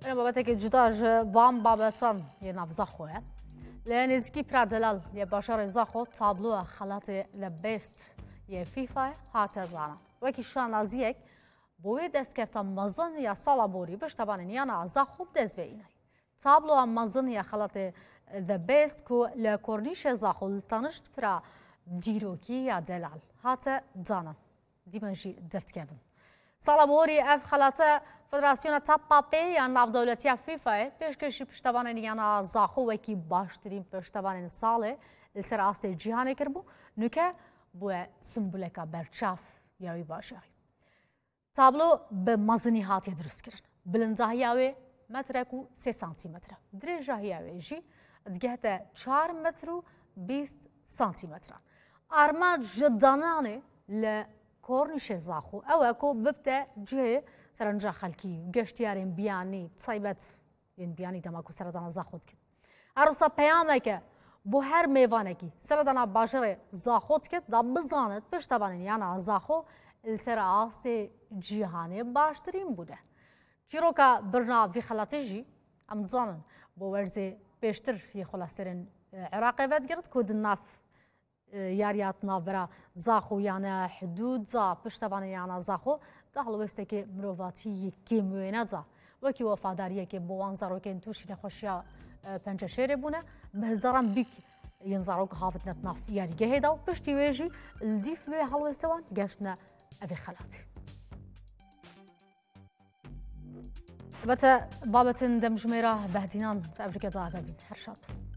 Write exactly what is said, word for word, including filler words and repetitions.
Belê, babetekê cuda ji van babetan yê nav Zaxo ye. Li nêzîkî pira delal yê bajarê Zaxo tabloya xelatê The Best yê FIFA'yê hate zanîn. Wekî şanaziyek bo wê destkefta mezin ya sala borî piştevanên yana Zaxo bi dest ve înayî. Tabloya mezin ya xelatê The Best ku li kornîşê Zaxo li tanişt pira dîrokî ya delal hate danin. Dîmen jî derdikevin. Sala borî ev xelate Federasyona Tapa Pê ya Navdewletiya FIFA'yê pêşkêşî piştevanên yana Zaxo wekî baştirîn piştevanên salê li ser astê cîhanê kiribû. Nuke bûye simboleka berçav ya wî bajarî. Tablo bi mezinî hatiye dirustkirin. Bilindahiya wê metrek û sê santîmetre. Dirêjahiya wê jî digehte çar metr û bîst santîmetran. Armanc ji dananê li kornîşê Zaxo ew e ku bibte cihê serenca xelkî û geştiyarên biyanî, bi taybet yên biyanî dema ku seredana Zaxo dikin. Her wisa peyameke bo her mêvanekî seredana bajarê Zaxo dikit, da bizanit piştevanên yana Zaxo li ser astê cîhanê baştirîn bûne. Çîroka birna vî xelatê jî em dizanin bo werzê pêştir yê xwelestêrên, e, Iraqê vedigirt ku di nav, e, yariya di navbera Zaxo yane hidûd da piştevanên yana Zaxo di helwêstekê mirovatî yê kêm wêne da. Wekî wefadariyekê bo wan zarokên tûşî nexweşiya, e, penceşêrê bûne, bi hezaran bîk yên zarok havitine di nav yarîgehê de û piştî wê jî li dîf wê helwêstê wan geştine evê xelatê. Elbette babetên demjimêra Behdînan di evrîke de eve bîn. Her şad bin.